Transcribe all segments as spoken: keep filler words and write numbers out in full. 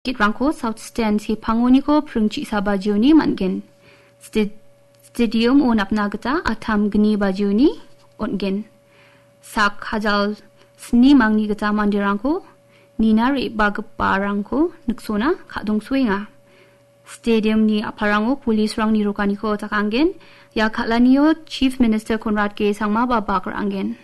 Ticket-rangko South Stand sepangoniko pring chisa bajioni man·gen. Sta-, stadium-o napna gita atam gni bajioni on·gen. Sak hajal sni mangni gita manderangko nina re·bagiparangko niksona ka·dongsoenga. Stadium-ni a·palrango police-rangni rokaniko jakangen. Ia kal·anio Chief Minister Conrad K Sangmaba bak ra·angen.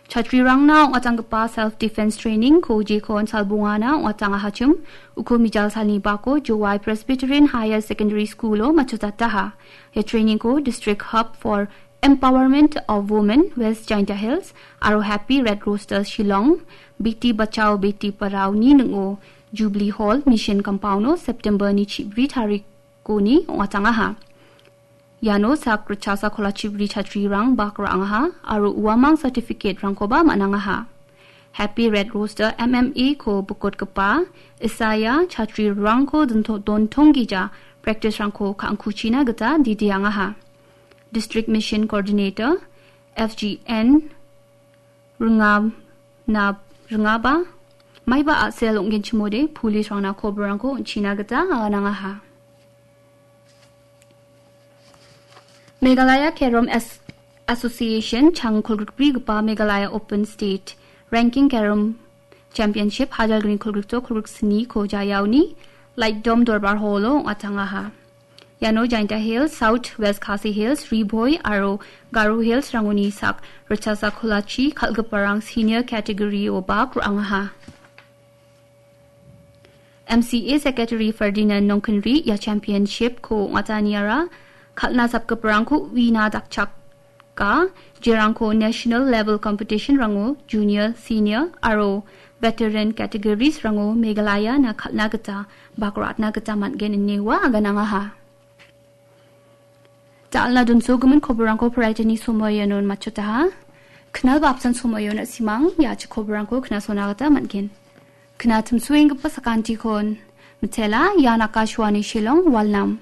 Chatrirangna ong·atanggipa self-defense training-ko jekon salbongana ong·atangahachim, uko mijal salni bako Jowai Presbyterian Higher Secondary School-o matchotataha. Ia training-ko District Hub for Empowerment of Women West Jaintia Hills aro Happy Red Rooster Shillong, Beti Bachao Beti Padhao-ni ning·o Jubilee Hall Mission Compound-o September-ni chibri tarikoni ong·atangaha. Iano sak ritchasa kolachibri chatrirang bak ra·angaha aro uamang certificate-rangkoba man·angaha. Happy Red Rooster M M A-ko bikotgipa Isaiah chatrirangko dinto-, dontonggija practice-rangko ka·angkuchina gita didiangaha. District Mission Coordinator, F G N, ringana, ringaba, maiba a·sel ong·genchimode police-rangna koborrangko on·china gita aganangaha. Meghalaya Carom As-, Association chang kolgrikbrigipa Meghalaya Open State Ranking Carom Championship hajar gni kolgrikto kolgriksniko Jayaoni Light Dome Dorbar Hall-o ong·atangaha. Iano Jaintia Hills, South West Khasi Hills, Ri Bhoi aro Garo Hills-rangoni sak ritchasa kolachi kal·giparang senior category-o bak ra·angaha. M C A Secretary Ferdinand Nongkinri ia championship-ko ong·ataniara kal·na sapgiparangko uina dakchak- ka, jerangko national level competition-rango junior, senior aro veteran categories-rango Meghalaya-na kal·na gita bak ra·atna gita man·gen ine ua aganangaha. Da·alna donsogimin koborrangko Friday-ni somoianon matchotaha. Knal ba apsan somoion na·simang ia a·chik koborrangko knasona gita man·gen. Knatimsoenggipa sakantikon mitela, ian Akashvani Shillong, Walnam.